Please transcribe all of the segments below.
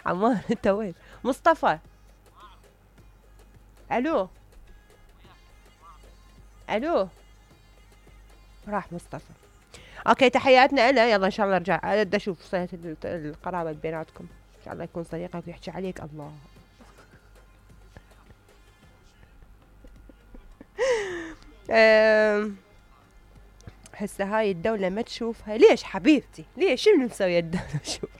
عمار انت وين؟ مصطفى. الو الو، راح مصطفى. اوكي تحياتنا له. يلا ان شاء الله ارجع ادي اشوف صلة القرابة بيناتكم، ان شاء الله يكون صديقك ويحكي عليك. الله هسه هاي الدولة ما تشوفها ليش حبيبتي؟ ليش؟ شنو مسوية الدولة؟ شوف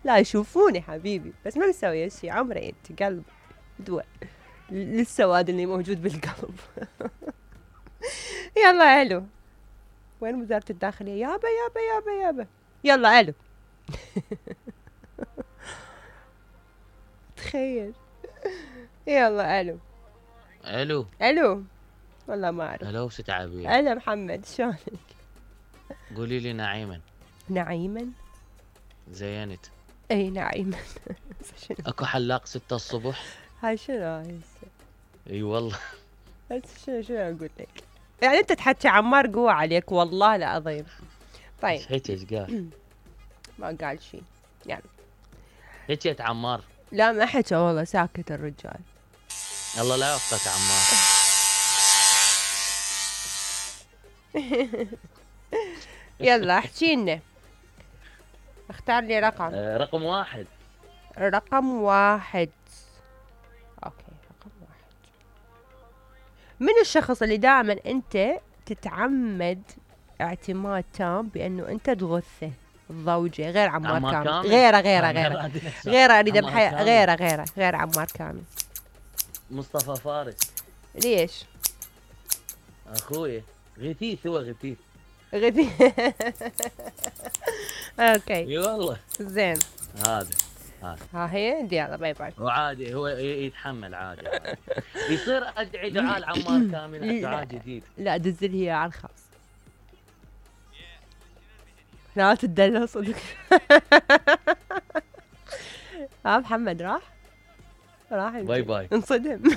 لا يشوفوني حبيبي بس ما مسوية شي. عمري انت قلب دواء للسواد اللي موجود بالقلب. يلا الو، وين وزارة الداخلية؟ يابا يابا يابا يابا. يلا الو. تخيل. يلا الو. الو الو. والله ما اعرف. الو ست عبير. هلا محمد شلونك؟ قولي لي نعيما. نعيما؟ زينت. اي نعيما. اكو حلاق 6 الصبح. هاي شنو هاي؟ اي والله. بس شنو اقول لك؟ يعني انت تحكي عمار قوة عليك والله العظيم. طيب هيك ايش قال؟ ما قال شيء يعني. هيك عمار. لا ما حكى والله، ساكت الرجال. الله لا يوفقك عمار. يلا احكي لنا، اختار لي رقم. رقم 1. رقم 1. اوكي رقم 1. من الشخص اللي دائما انت تتعمد اعتماد تام بانه انت تغثه؟ الضوجة غير عمار كامل. غيره اريد غير عمار كامل. مصطفى فارس. ليش؟ اخوي غثيث، هو غثيث. اوكي اي والله. زين. هذا ها هي يلا باي باي. وعادي هو يتحمل عادي. يصير ادعي دعاء عمار كامل دعاء جديد. لا دزل هي على الخاص. لا تدلع صدق. ها محمد راح باي باي. انصدم.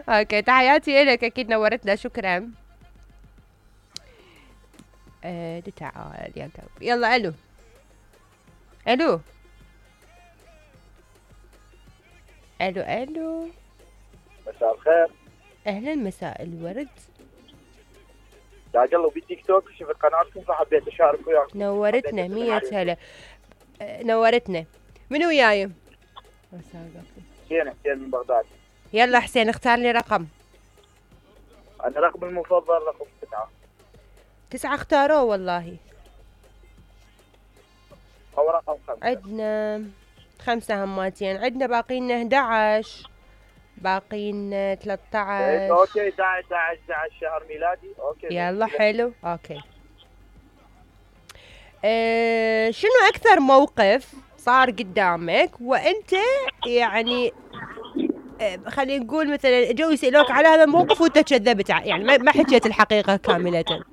اوكي تحياتي لك، اكيد نورتنا، شكرا. تعال يا قلب. يلا الو الو الو الو. مساء الخير. اهلا مساء الورد. يا قلبي بالتيك توك شفت قناتكم فحبيت اشارك وياكم. نورتنا 100 هلا. نورتنا. من وياي؟ حسين من بغداد. يلا حسين اختار لي رقم. انا رقم المفضل رقم 9. 9 اختاروه والله. او رقم 5. عندنا 5 هماتين، عندنا باقي لنا 11، باقي لنا 13. اوكي 11 شهر ميلادي. اوكي يلا حلو. اوكي شنو اكثر موقف صار قدامك وانت يعني خلينا نقول مثلا جو يسألوك على هذا الموقف وانت كذبت، يعني ما حكيت الحقيقة كاملة؟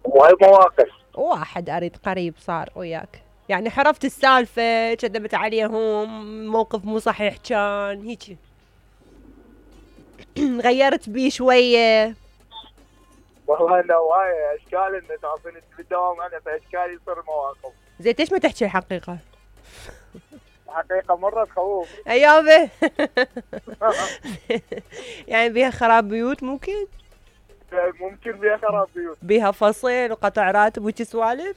وهي مواقف. واحد اريد قريب صار وياك، يعني حرفت السالفة كذبت عليهم، موقف مو صحيح كان هيك غيرت بيه شوية. والله انه هاي اشكال انه تعرفين انت بالدوام انا فاشكال يصير مواقف. زين ليش ما تحكي الحقيقة؟ الحقيقة مرة تخوف. ايوه. يعني بيها خراب بيوت ممكن بيها خراب بيوت، بيها فصل وقطع راتب وشي سوالف.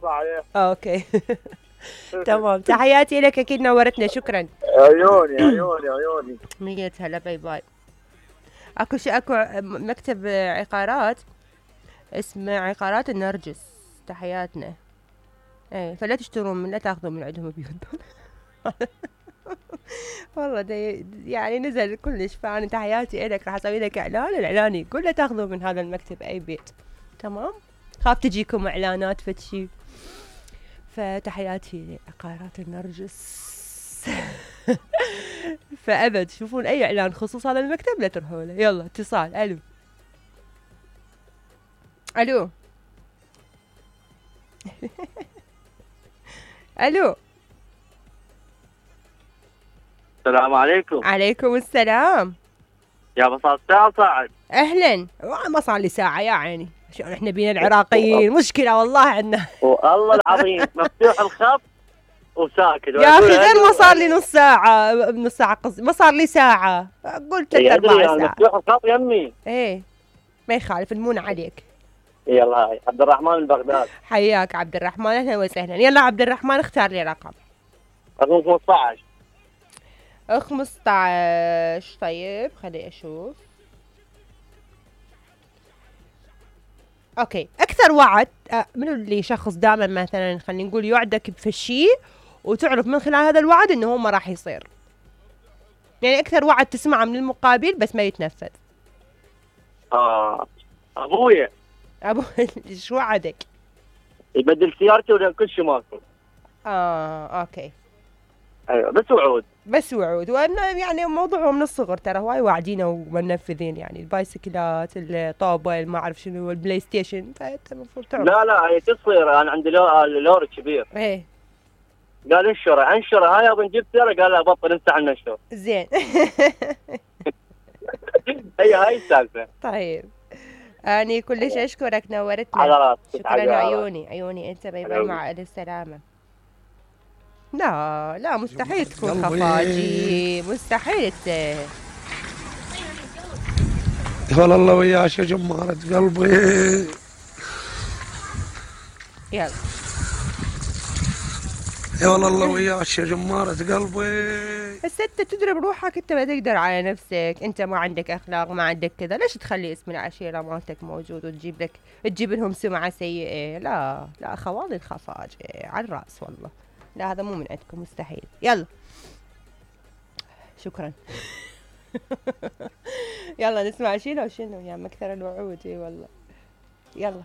صحيح. اوكي. تمام تحياتي لك، اكيد نورتنا، شكرا. عيوني 100 هلا باي باي. اكو مكتب عقارات اسمه عقارات النرجس، تحياتنا. ايه فلا تشترون لا تاخذون من عندهم بيوت. والله يعني نزل كلش، فانا تحياتي لك، راح اسوي لك اعلان يقول لا تاخذوا من هذا المكتب اي بيت. تمام، خاف تجيكم اعلانات فتشي. فتحياتي لعقارات النرجس. فابد تشوفون اي اعلان خصوص هذا المكتب لا تروحوا له. يلا اتصال. الو الو. السلام عليكم. عليكم السلام. يا بصار ساعة صاعد. اهلا. ما صار لي ساعة يا عيني، شلون احنا بينا العراقيين مشكلة والله عندنا. والله العظيم مفتوح الخط وساكت. يا اخي غير ما صار لي نص ساعة قصدي، ما صار لي ساعة، قلت 3-4 ساعات. مفتوح الخط يمي. ايه ما يخالف، المون عليك. يلا هاي عبد الرحمن من بغداد. حياك عبد الرحمن، اهلا وسهلا. يلا عبد الرحمن اختار لي رقم. رقم 15. 15. طيب خلي اشوف. اوكي، اكثر وعد منو اللي شخص دائما مثلا خلينا نقول يوعدك بشيء وتعرف من خلال هذا الوعد انه هو ما راح يصير، يعني اكثر وعد تسمعه من المقابل بس ما يتنفذ. ابويا. ابو شو وعدك؟ يبدل سيارتي ولا كل شيء ماكو. اوكي. ايوه بس وعود. وانه يعني موضوعه من الصغر ترى هواي واعدينه ومنفذين، يعني البايسكلات، الطوبه، ما اعرف شنو، البلاي ستيشن، فانت المفروض تعرف. لا هي تصير. انا عندي لوري كبير. ايه. قال انشره هاي ابن جبت سياره، قال لا بطل انت عن نشره. زين. هاي السالفه. طيب اني كلش اشكرك، نورتنا. على راسك. شكرا. عيوني انت. باي باي، مع السلامه. لا مستحيل تكون خفاجي، مستحيل. والله الله وياك يا جمارة قلبي. يلا يا والله الله وياك يا جمارة قلبي. بس انت تضرب روحك، انت ما تقدر على نفسك، انت ما عندك اخلاق، ما عندك كذا، ليش تخلي اسم العشيرة مالتك موجود وتجيب لهم سمعة سيئة؟ لا خوالي الخفاجة على الراس والله. لا هذا مو من عندكم، مستحيل. يلا شكرا. يلا نسمع شنو يا مكثر الوعود. والله يلا.